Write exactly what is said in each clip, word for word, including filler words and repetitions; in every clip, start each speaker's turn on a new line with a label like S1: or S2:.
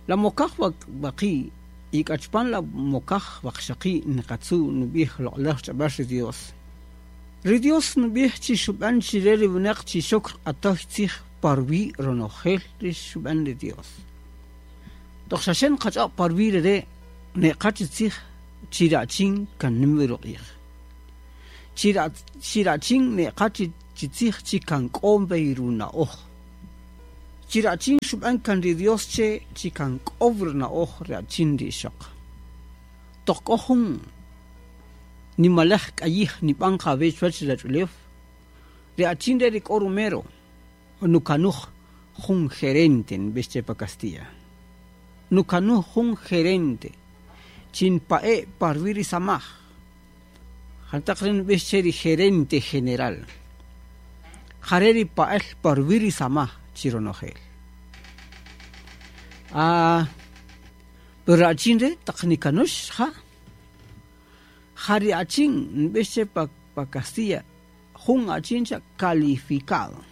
S1: La mokaj waqi' y k'achpan la mokaj waqxaqi' niqatzu' nub'ij loq'olaj ch'ab'äl ri Dios. Ri Dios nub'ij chi xub'an chire ri winaq chi xok q'atoj tzij parwi' ronojel ri xub'an ri Dios. Toq xaxe nqach'ob' parwi' rere' neqa chi tzij chi rachin kan nim wi ruq'ij. Chi ra chi rachin neqa chi chi tzij chi kan k'o b'ey runa'oj. Chi rachin xub'an kan ri Dios che chi kan k'o runa'oj rachin ri ixoq. Toq k'o jun nimalej k'ayij nib'an qawech chuwach rach'ulew ri achin re ri k'o rumero nukanuj jun gerente nb'ix che pa Castilla. Nukanuj jun gerente chin pa'e parwi' ri samaj. Jantaq re nb'ix che ri gerente general. Jare ri pa'el parwi' ri samaj chi ronojel. Ah, pero achin re taq nikanux ja. Jari achin nb'ix che pa pa Castilla jun achin cha calificado.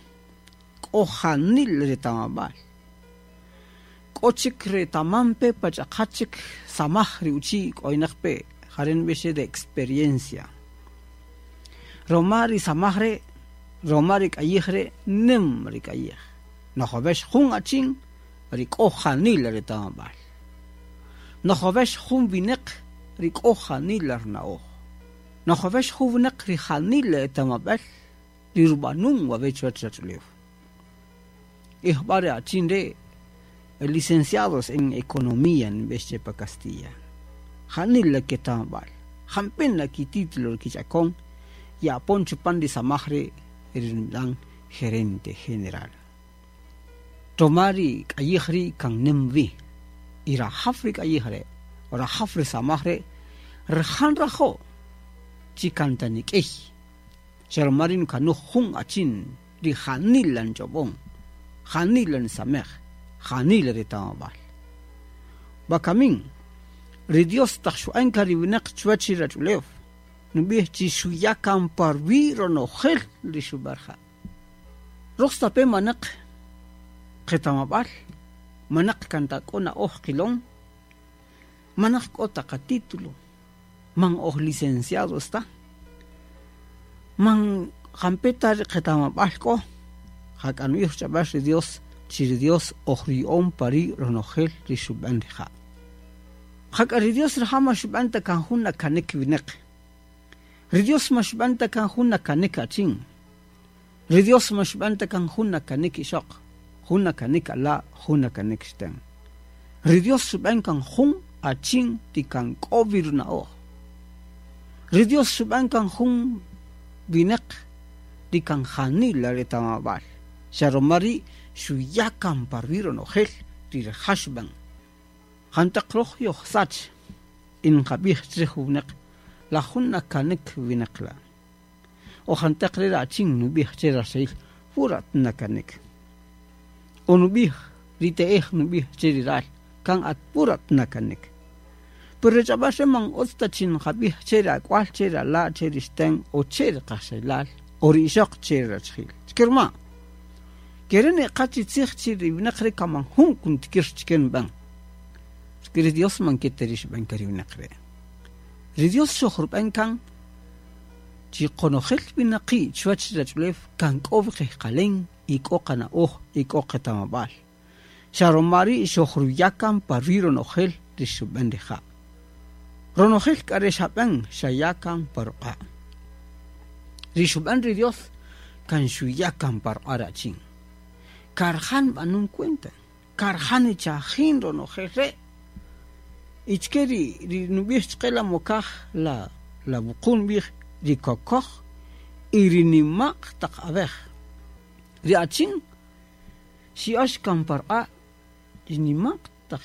S1: K'o janil retamab'al. K'o chik retamampe pach'aqachik samaj ri uchi' k'oynaq pe jare nb'ix che de experiencia. Roma ri samaj re roma ri k'ayij re nim ri k'ayij. Nojovex jun achin ri k'o janil retamab'al. Nojovex jun wineq ri k'o janil rna'oj. Nojovex jun wineq ri janil etamab'al ri rub'anun wawech chuwach rach'ulew. Ijb'a ri achin re licenciados en economía nb'ix che pa Castilla. Janil la ketamab'al. Jampin la kitítulo kich'akon yapon chupan ri samaj re rinb'an gerente general. Roma ri k'ayij ri kan nim wi. Y rajaf ri k'ayij re, rajaf ri samaj re, rajan rajo chi kanta nik'ey. Xa roma ri nukanuj jun achin ri janil lan ch'ob'on, janil lan samej, janil retamab'al. Wakamin, ri Dios taq xu'an ka ri winaq chuwach ri rach'ulew, nub'ij chi xuya kan parwi' ronojel ri xub'arja. Roj stape manaq qetamab'al, manaq kanta k'o na'oj qilon, manaq k'o ta qatítulo, man oj licenciados ta, man jampeta ri qetamab'al k'o, jak'anu'ij ch'ab'al ri Dios, chi ri Dios oj ri'on pari' ronojel ri xub'an rija'. Jak'a ri Dios rija' ma xub'an ta kan jun nakanek winaq. Ri Dios ma xub'an ta kan jun nakanek achin. Ri Dios ma xub'an ta kan jun nakanek ixoq, jun nakanek ala', jun nakanek ixten. Ri Dios xub'an kan jun achin ti kan k'o wi runa'oj. Ri Dios xub'an kan jun winaq ri kan janil retamab'al. Xa roma ri' xuya kan parwi' ronojel ri rija' xub'an. Jantaq roj yojsach in qab'ij chrij winaq la jun nakanek winaq la. O jantaq re achin nub'ij che raxel purat nakanek. O nub'ij ri te'ej nub'ij che ri ral kan at purat nakanek. Pero ri ch'ab'al re man utz ta chin qab'ij che ri ak'wal che ri ala' che ri ixten o che ri qaxelal o ri ixoq che ri rachjil. Chkirma. Kere ne qachi tzij chi ri winaq re kaman jun kuntikir chken b'an. Porque ri Dios man keterix b'an ka ri winaq re. Ri Dios xojrub'an kan chi qonojel winaqi' chuwach rach'ulew kan k'o qejqalen y k'o qana'oj y k'o qetamab'al. Xa roma ri' xojruya kan parwi' ronojel ri xub'an rija'. Ronojel k'a re xab'an xaya kan pa ruq'a'. Ri xub'an ri Dios kan xuya kan pa ruq'a' rachin. Karjan b'anun cuenta. Karjan ichajin ronojel re'. Ichke ri ri nub'ij chqe la mokaj la la wuqun b'ij ri kokoj y ri nimaq taq ab'ej. Ri achin xi'ox kan pa ruq'a' ri nimaq taq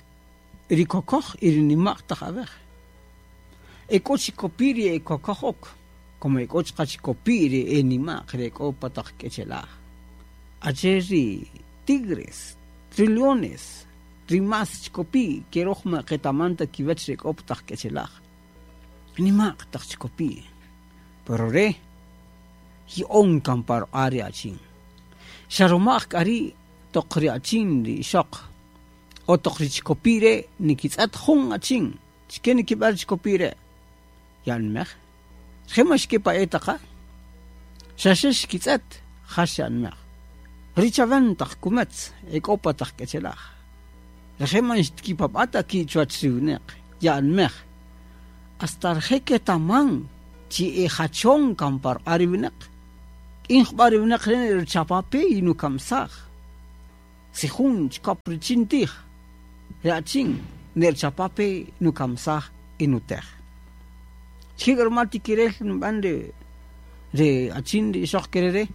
S1: ri kokoj y ri nimaq taq ab'ej. E k'o chikopi ri e kokoj ok, como e k'o chqa chikopi ri e nimaq ri e k'o pa taq k'echelaj. Ache ri tigres, ri leones, ri mas chikopi ke roj ma qetamanta kiwach ri k'o pa taq k'echelaj. Nimaq taq chikopi. Pero re yi'on kan pa ruq'a' ri achin. Xa romaj k'a ri' toq ri achin ri ixoq O toq ri chikopi' re' nikitz'ët jun achin, chike nikib'än ri chikopi' re'? Ya'anmej. Rije' man xkipa'e' ta qa. Xa xe xkitz'ët, ja xe'anmej. Ri chawen taq kumätz e k'o pa taq k'echelaj. Rije' man xtkipab'a' ta ki' chuwäch ri winäq, ya'anmej. Hasta rije' ketaman chi e jachon kan pa ruq'a' ri winäq. K'in jub'a' ri winäq re' ruchapape y nukamsaj. Si jun chikop richin tij, ri achin nerchapape nukamsaj y nutej. Chike k'a ruma tikirel nb'an ri ri achin ri ixöq ke re'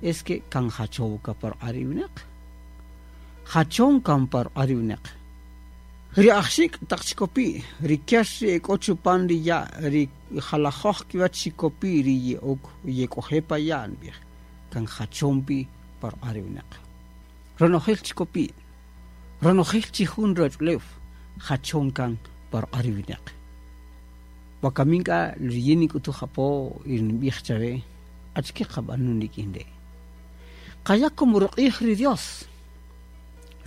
S1: es que kan jachow ka pa ruq'a' ri winäq. Jachon kan pa ruq'a' ri winäq. Ri ajxik' taq chikopi', ri kär ri e k'o chupan ri ya', ri jalajoj kiwäch chikopi' ri ye'ok yek'oje' pa ya' nb'ij, kan jachon pi pa ruq'a' ri winäq. Ronojel chikopi', ronojel chi jun ruwach'ulew, jachon kan pa ruq'a' ri winäq. Wakamin k'a riyin nik'utuj apo y nb'ij chawe, achike qab'anun rik'in re'? Qaya' como ruq'ij ri Dios.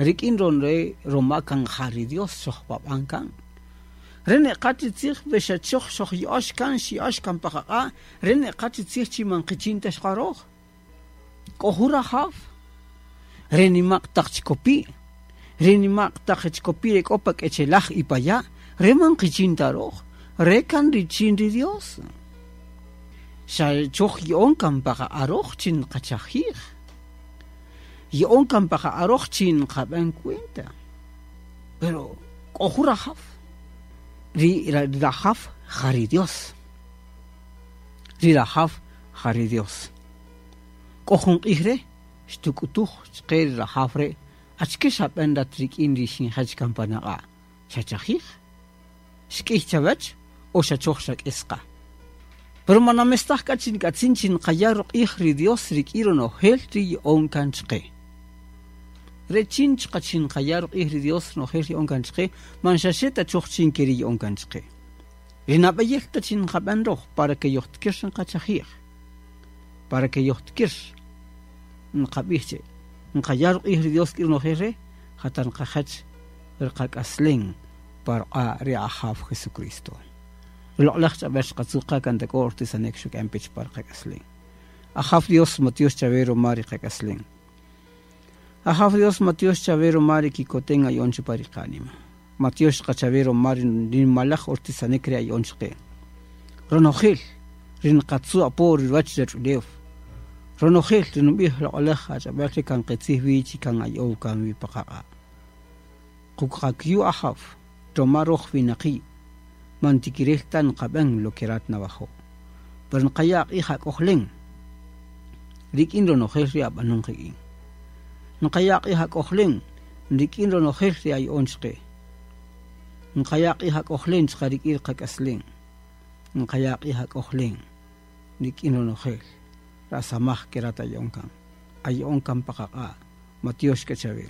S1: Rik'in ron re' ruma kan ja ri Dios xojpab'an kan. Re neqa chi tzij we xa choj xojya'ox kan, xya'ox kan pa qaq'a', re neqa chi tzij chi man qichin ta xqaroj. K'o jun rajaw. Re nima'q taq chikopi', re nima'q taq chikopi' re k'o pa k'echelaj y pa ya', re man qichin ta roj, re kan richin ri Dios. Xa choj ya'on kan pa qaq'a' roj chin qachajij. Ya'on kan pa qaq'a' roj chin qab'an cuenta. Pero k'o jun rajaw. Ri rajaw ja ri Dios. Ri rajaw ja ri Dios. K'o jun q'ij re' xtuk'utuj chqe ri rajaw re' achike xab'an rat rik'in ri xinjach kan pan aq'a'? Xachajij? Xk'iy chawach o xa choj xak'is qa? Pero man namestaj k'a chi nk'atzin chi nqaya' ruq'ij ri Dios rik'in ronojel ri ya'on kan chqe. Re chin chqa chi nqaya' ruq'ij ri Dios ronojel ri ya'on kan chqe, man xa xe ta choj chin ke ri ya'on kan chqe. Ri nab'eyel ta chi nqab'an roj para que yojtikir nqachajij. Para que yojtikir nqab'ij che nqaya' ruq'ij ri Dios k'in ronojel re' jata nqajach riqak'aslen pa ruq'a' ri Ajaw Jesucristo. Loq'laj ch'ab'äl xqatzu' qa kan ta k'o ortisanek xuk'an pech pa riqak'aslen. Ajaw Dios matiox chawe ruma ri qak'aslen. Ajaw Dios matiox chawe ruma ri kikoten aya'on chupan ri qanima. Matiox qachawe ruma ri nimalaj ortisanek ri aya'on chqe. Ronojel ri nqatzu' apo ri ruwach ruwach'ulew. Ronojel ri nub'ij loq'laj ach'ab'äl ri kan qitzij wi chi kan aya'ow kan wi pa qaq'a'. Quqakyu Ajaw ruma roj winaqi' man tikirel ta nqab'an lo que rat nawajo'. Pero nqaya' q'ij ak'ojlen rik'in ronojel ri ab'anun qik'in. Nqaya' q'ij ak'ojlen rik'in ronojel ri aya'on chqe. Nqaya' q'ij ak'ojlen chqa rik'in qak'aslen. Nqaya' q'ij ak'ojlen rik'in ronojel rasamaj ke rat aya'on kan. Aya'on kan pa qaq'a'. Matiox k'a chawe.